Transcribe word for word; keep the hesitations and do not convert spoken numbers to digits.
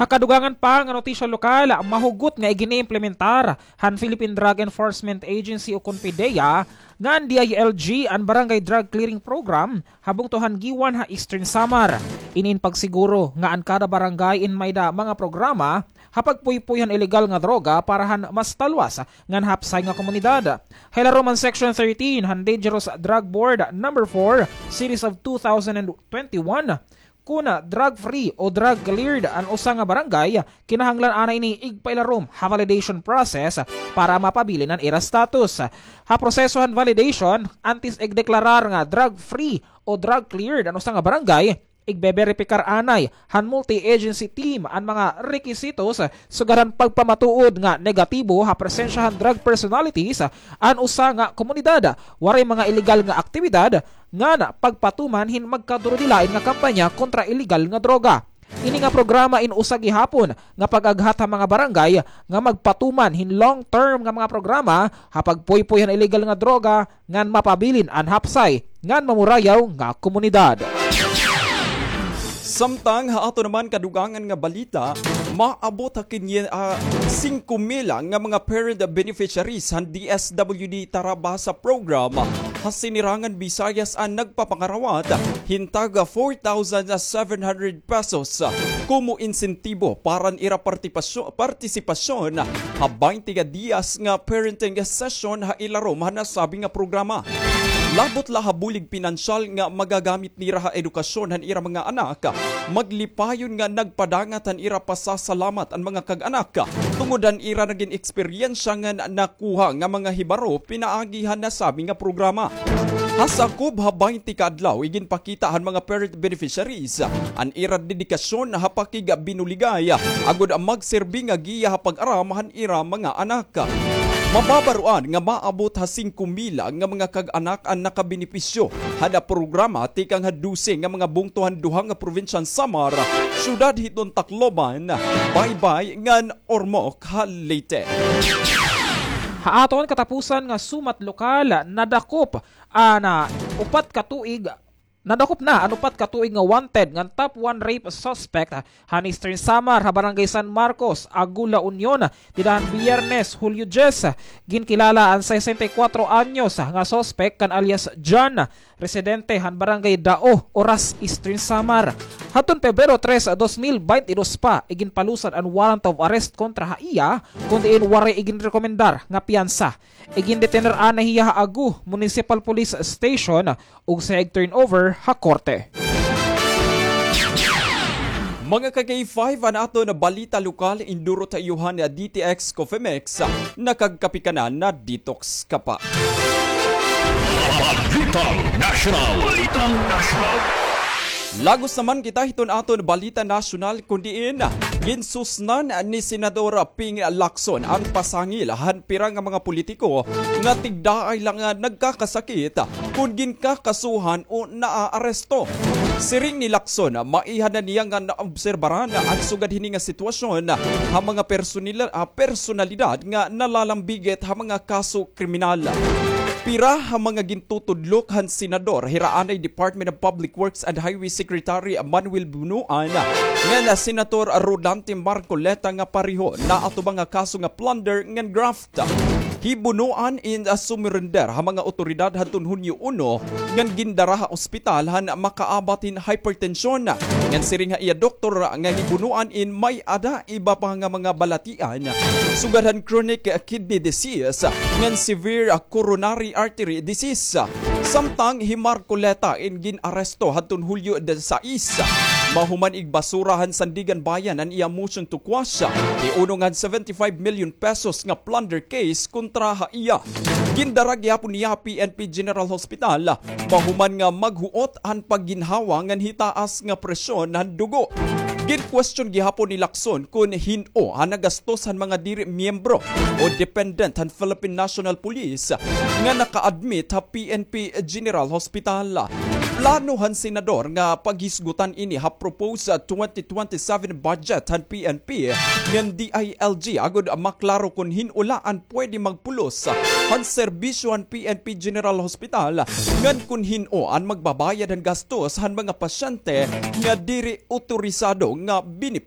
Ha kadugangan pa nga notisya lokal, mahugot nga iginiimplementar han Philippine Drug Enforcement Agency ukon PDEA ngan DILG an Barangay Drug Clearing Program ha bungto han Guiuan ha Eastern Samar. Ini in pagsiguro nga an kada barangay in may-ada mga programa ha pagpuypoy han ilegal nga droga para han mas talwas ngan hapsay nga komunidad. Ha ilarom han Section thirteen han Dangerous Drug Board Number four, Series of two thousand twenty-one, kun drug-free o drug-cleared an usa nga barangay, kinahanglan anay ini igpailarom ha validation process para mapabilin an ira status. Ha proseso han validation, antes igdeklarar nga drug-free o drug-cleared an usa nga barangay, igbeberipikar anay han multi-agency team an mga rekisitos sugad han pagpamatuod nga negatibo ha presensya han drug personalities an usa nga komunidad, waray mga ilegal nga aktibidad, ngan pagpatuman hin magkadurudilain nga kampanya kontra ilegal nga droga. Ini nga programa in usa gihapon nga pag-aghat ha mga barangay nga magpatuman hin long-term nga mga programa ha pagpuypoy han ilegal nga droga ngan mapabilin an hapsay ngan mamurayaw nga komunidad. Samtang ha aton naman kadugangan nga balita, maabot ha kinye-, ah, singko mil nga mga parent beneficiaries han DSWD Tarabasa Program ha Sinirangan Visayas an nagpapangarawat hin tag four thousand seven hundred pesos komo insentibo para han ira partipasyo-, partisipasyon ha baynte ka diyas nga parenting session ha ilarom han nasabi nga programa. Labot la ha bulig pinansyal nga magagamit nira ha edukasyon han ira mga anak, maglipayon nga nagpadangat han ira pasasalamat an mga kag-anak tungod han ira nagin eksperyensya ngan nakuha nga mga hibaro pinaagi han nasabi nga programa. Ha sakob ha baynte ka adlaw, iginpakita han mga parent beneficiaries an ira dedikasyon ha pakigbinuligay agod magserbi nga giya ha pag-aram han ira mga anak. Mababaroan nga maabot ha singko mil nga mga kag-anak an nakabenepisyo han programa tikang ha dose nga mga bungto han duha nga probinsya han Samar, syudad hiton Tacloban, Baybay ngan Ormoc ha Leyte. Ha aton katapusan nga sumat lokal, nadakop an upat ka tuig, nadakop na an upat ka tuig nga wanted ngan top one rape suspect han Eastern Samar ha Barangay San Marcos, Agu, La Union, dida han Biyernes, Hulyo dyes. Ginkilala an sesenta y kuwatro anyos nga suspect kan alias John, residente han Barangay Dao, Oras, Eastern Samar. Hadton Pebrero tres, dos mil baynte dos pa, iginpalusad an warrant of arrest kontra ha iya, kon diin waray iginrekomendar nga piyansa. Igindetener anay hiya ha Agu Municipal Police Station ug siya igturnover ha korte. Mga ka-K five, an aton balita lokal, indurot ha iyo han D T X Coffee Mix. Nakagkape ka na, na-detox ka pa. Balitang Nasyonal. Balitang Nasyonal. Lagos naman kita hiton aton balita nasyonal, kon diin ginsusnan ni Senador Ping Lacson an pasangil han pira nga mga politiko nga tigdaay la nga nagkakasakit kon ginkakasuhan o naaaresto. Siring ni Lacson, maiha na niya nga naobserbaran an sugad hini nga sitwasyon ha mga personila-, ah, personalidad nga nalalambigit ha mga kaso kriminal. Pira ha mga gintutudlok han senador, hira anay Department of Public Works and Highway Secretary Manuel Bonoan ngan Senator Rodante Marcoleta nga pareho naatubang ha kaso nga plunder ngan graft. Hi Bonoan in, ah, sumurender ha mga awtoridad hadton Hunyo uno ngan gindara ha ospital han makaabat hin hypertension. Ngan siring ha iya doktor nga hi Bonoan in may-ada iba pa nga mga balatian, sugad han chronic kidney disease ngan severe coronary artery disease. Samtang hi Marcoleta in gin-aresto hadton Hulyo disisais, mahuman igbasura han Sandiganbayan an iya motion to quash hi unong han seventy-five million pesos nga plunder case kontra ha iya. Gindara gihapon niya ha P N P General Hospital, mahuman nga maghuot han pagginhawa ngan hitaas nga presyon han dugo. Gin-question gihapon ni Lacson kon hin-o an nagastos han mga diri miyembro o dependent han Philippine National Police nga naka-admit ha P N P General Hospital. Plano han senador nga paghisgutan ini ha proposed twenty twenty-seven budget han P N P ngan D I L G agod maklaro kon hin-o la an pwede magpulos han serbisyo han P N P General Hospital ngan kon hin-o an magbabayad han gastos han mga pasyente nga diri otorisado nga benepisyaryo.